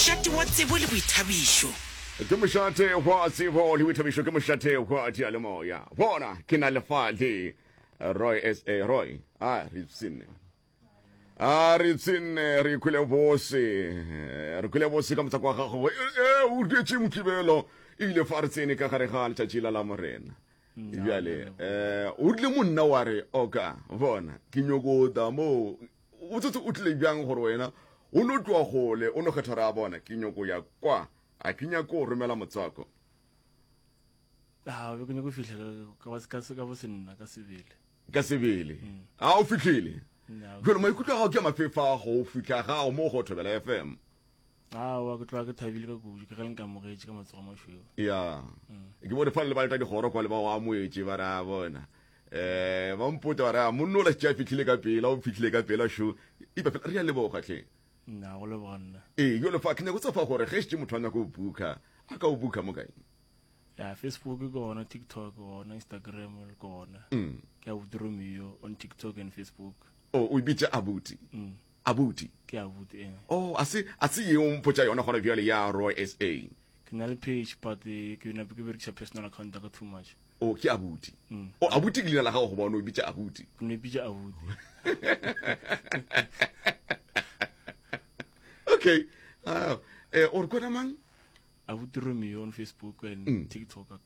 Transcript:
Mošate wa tsebo le boithabišo. Ke mošate wa tsebo le boithabišo, ke mošate wa diyalemoya. Bona, ke na le fa le Roy SA. Roy, a re ipshinne. A re ipshinne, re ikhwele bose. Re kwele bose ka motswako wa gago. E, o dietše Mokibelo. Ebile fa re tsene ka gare ga letšatši la Lamorena. Bjale, eh, o rile monna wa re, oka, bona, ke nyoko ta mo. O tsetse o tlile bjang gore wena o no tloa gole, o no kgetha gore a bona, ke nyoko ya kwa, a ke nyako go romela motswako. A be ke nyako fihla ka ka ka bo senna ka sebele. Ka sebele. A o fihlile. Jwale maikutlo a gago ke a mafefa go fihla gago mo go Thobela FM. Aowa, ke tloga ke thabile ka kudu ke ge le nkamogetše ka matsogo a mašweu. Ya. Ke bone fa le ba leta dikgoro kwa le ba go amoetše ba re a bona. Eh, ba mpotsa ba re a monna ola šetše a fihlile ka pela, o fihlile ka pela šo. Ipa fela re a leboga hle. Nna go leboga nna. Ee, jwale fa ke nyako tsa fa gore ge šetše motho a nyako o booka, a ka o booka mo kae? Ya, Facebook ke gona, TikTok ke gona, Instagram le gona. Ke Abuti Romeo on TikTok and Facebook. Oh, o e bitša Abuti. Abuti. Ke abuti eh. Oh, a se a se ye o mpotša yona gona bjale ya Roy SA. Ke na le page but eh, ke na ke berekisa personal account ka too much. Oh, ke abuti. Oh, abuti ke leina la gago goba o no e bitša abuti? Ke no e bitša abuti. Okay. Ah, eh, o re kona mang? Abuti Romeo on Facebook and TikTok.